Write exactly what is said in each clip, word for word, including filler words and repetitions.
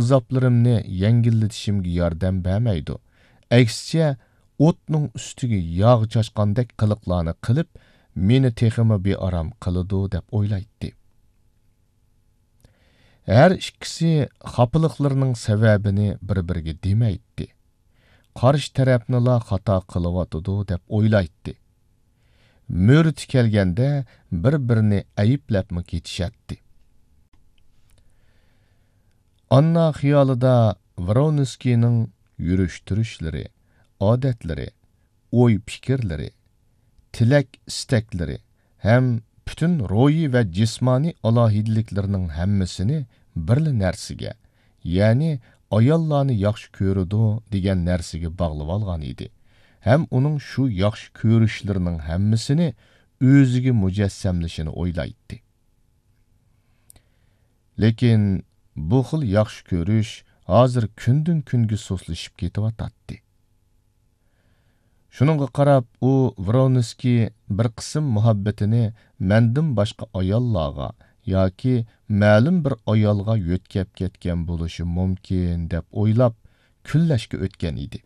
ئازابلىرىمنى يەڭگىللىتىشىمگە ياردەم بەرمەيدۇ. ئەكسىچە، ئوتنىڭ ئۈستىگە ياغ چاچقاندەك قىلىقلارنى قىلىپ، مېنى تېخىمۇ بىئارام قىلىدۇ، دەپ ئويلايتتى. ھەر ئىككىسى خاپىلىقلىرىنىڭ سەۋەبىنى بىر-بىرىگە دېمەيتتى. قارشى تەرەپنىلا خاتا قىلىۋاتىدۇ، دەپ ئويلايتتى. مۆرىتى كەلگەندە بىر-بىرىنى ئەيىبلەپمۇ كېتىشەتتى. ئاننا خىيالىدا ۋرونسكىينىڭ يۈرۈش-تۇرۇشلىرى، ئادەتلىرى، ئوي-پىكىرلىرى، تىلەك-ئىستەكلىرى ھەم پۈتۈن روھىي ۋە جىسمانىي ئالاھىدىلىكلىرىنىڭ ھەممىسىنى بىرلا نەرسىگە، يەنى ئاياللارنى ياخشى كۆرىدۇ دېگەن نەرسىگە باغلىۋالغان ئىدى ھەم ئۇنىڭ شۇ ياخشى كۆرۈشلىرىنىڭ ھەممىسىنى ئۆزىگە مۇجەسسەملىشىنى ئويلايتتى. لېكىن بۇ خىل ياخشى كۆرۈش ھازىر كۈندىن-كۈنگە سۇسلىشىپ كېتىۋاتاتتى. شۇنىڭغا قاراپ، ئۇ ۋرونسكىي بىر قىسىم مۇھەببىتىنى مەندىن باشقا ئاياللارغا ياكى مەلۇم بىر ئايالغا يۆتكەپ كەتكەن بولۇشى مۇمكىن، دەپ ئويلاپ، كۈنلەشكە ئۆتكەن ئىدى.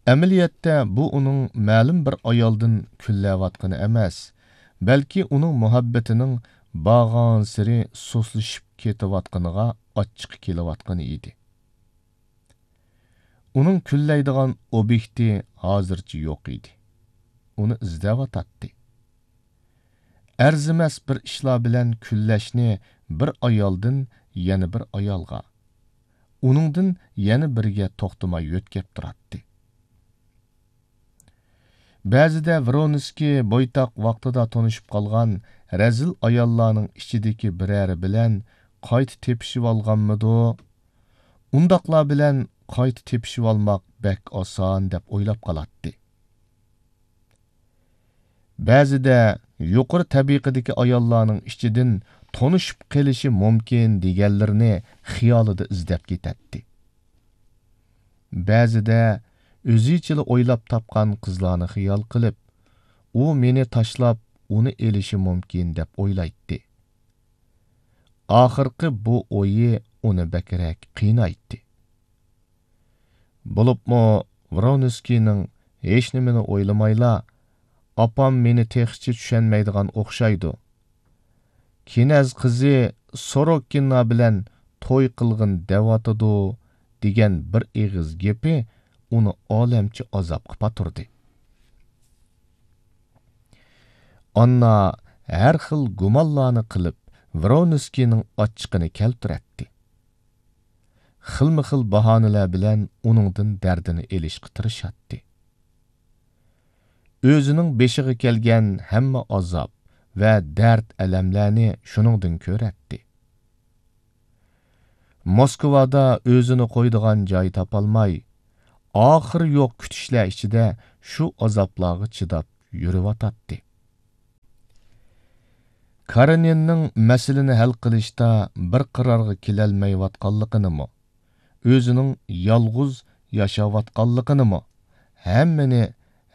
ئەمەلىيەتتە، بۇ ئۇنىڭ مەلۇم بىر ئايالدىن كۈنلەۋاتقىنى ئەمەس، بەلكى ئۇنىڭ مۇھەببىتىنىڭ بارغانسېرى سۇسلىشىپ كېتىۋاتقىنىغا ئاچچىقى كېلىۋاتقىنى ئىدى. ئۇنىڭ كۈنلەيدىغان ئوبيېكتى ھازىرچە يوق ئىدى. ئۇنى ئىزدەۋاتاتتى. ئەرزىمەس بىر ئىشلار بىلەن كۈنلەشنى بىر ئايالدىن يەنە بىر ئايالغا، ئۇنىڭدىن يەنە بىرىگە توختىماي يۆتكەپ تۇراتتى. بەزىدە ۋرونسكىي بويتاق ۋاقتىدا تونۇشۇپ قالغان رەزىل ئاياللارنىڭ ئىچىدىكى بىرەرى بىلەن قايتا تېپىشىۋالغانمىدۇ؟ ئۇنداقلار بىلەن قايتا تېپىشىۋالماق بەك ئاسان دەپ ئويلاپ قالاتتى. بەزىدە يۇقىرى تەبىقىدىكى ئاياللارنىڭ ئىچىدىن تونۇشۇپ قېلىشى مۇمكىن دېگەنلىرىنى خىيالىدا ئىزدەپ كېتەتتى. بەزىدە ئۆزىچىلا ئويلاپ تاپقان قىزلارنى خىيال قىلىپ، ئۇ مېنى تاشلاپ، ئۇنى ئېلىشى مۇمكىن دەپ ئويلايتتى. ئاخىرقى بۇ ئويى ئۇنى بەكرەك قىينايتتى. بولۇپمۇ ۋرونسكىينىڭ ھېچنېمىنى ئويلىمايلا، «ئاپام مېنى تېخىچە چۈشەنمەيدىغان ئوخشايدۇ. كىنەز قىزى سوروكىنا بىلەن توي قىلغىن دەۋاتىدۇ» دېگەن بىر ئېغىز گېپى ئۇنى ئالەمچە ئازابقا پاتۇردى. ئاننا ھەر خىل گۇمانلارنى قىلىپ، ۋرونسكىينىڭ ئاچچىقىنى كەلتۈرەتتى. خىلمۇ خىل باھانىلەر بىلەن ئۇنىڭدىن دەردىنى ئېلىشقا تىرىشاتتى. ئۆزىنىڭ بېشىغا كەلگەن ھەممە ئازاب ۋە دەرد-ئەلەملەرنى شۇنىڭدىن كۆرەتتى. موسكۋادا ئۆزىنى قويىدىغان جاي تاپالماي، ئاخىرى يوق كۈتۈشلەر ئىچىدە شۇ ئازابلارغا چىداپ يۈرۈۋاتاتتى. كارېنىننىڭ مەسىلىنى ھەل قىلىشتا بىر قارارغا كېلەلمەيۋاتقانلىقىنىمۇ، ئۆزىنىڭ يالغۇز ياشاۋاتقانلىقىنىمۇ، ھەممىنى،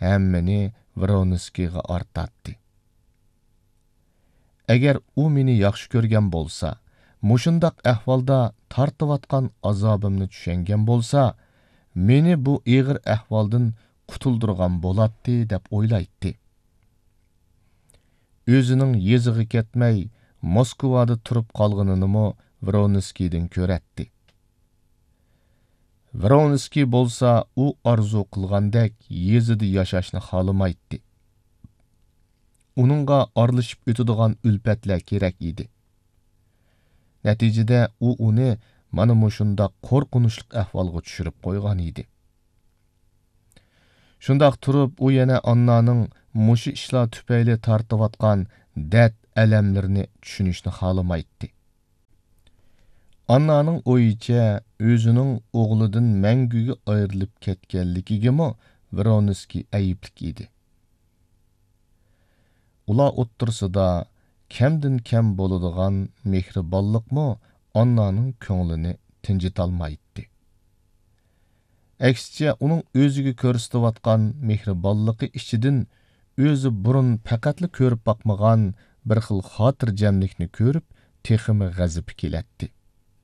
ھەممىنى ۋرونسكىيغا ئارتاتتى. ئەگەر ئۇ مېنى ياخشى كۆرگەن بولسا، مۇشۇنداق ئەھۋالدا تارتىۋاتقان ئازابىمنى چۈشەنگەن بولسا، مېنى بۇ ئېغىر ئەھۋالدىن قۇتۇلدۇرغان بولاتتى، دەپ ئويلايتتى. ئۆزىنىڭ يېزىغا كەتمەي، موسكۋادا تۇرۇپ قالغىنىنىمۇ ۋرونسكىيدىن كۆرەتتى. ۋرونسكىي بولسا ئۇ ئارزۇ قىلغاندەك يېزىدا ياشاشنى خالىمايتتى. ئۇنىڭغا ئارىلىشىپ ئۆتىدىغان ئۈلپەتلەر كېرەك ئىدى. نەتىجىدە ئۇ ئۇنى مانا مۇشۇنداق قورقۇنچلۇق ئەھۋالغا چۈشۈرۈپ قويغان ئىدى. شۇنداق تۇرۇپ، ئۇ يەنە ئاننانىڭ مۇشۇ ئىشلار تۈپەيلى تارتىۋاتقان دەرد-ئەلەملىرىنى چۈشىنىشنى خالىمايتتى. ئاننانىڭ ئويىچە، ئۆزىنىڭ ئوغلىدىن مەڭگۈگە ئايرىلىپ كەتكەنلىكىگىمۇ ۋرونسكىي ئەيىبلىك ئىدى. ئۇلار ئوتتۇرىسىدا كەمدىن كەم بولىدىغان مېھرىبانلىقمۇ ئاننانىڭ كۆڭلىنى تىنجىتالمايتتى. ئەكسىچە، ئۇنىڭ ئۆزىگە كۆرسىتىۋاتقان مېھرىبانلىقى ئىچىدىن ئۆزى بۇرۇن پەقەتلا كۆرۈپ باقمىغان بىر خىل خاتىرجەملىكنى كۆرۈپ، تېخىمۇ غەزىپى كېلەتتى.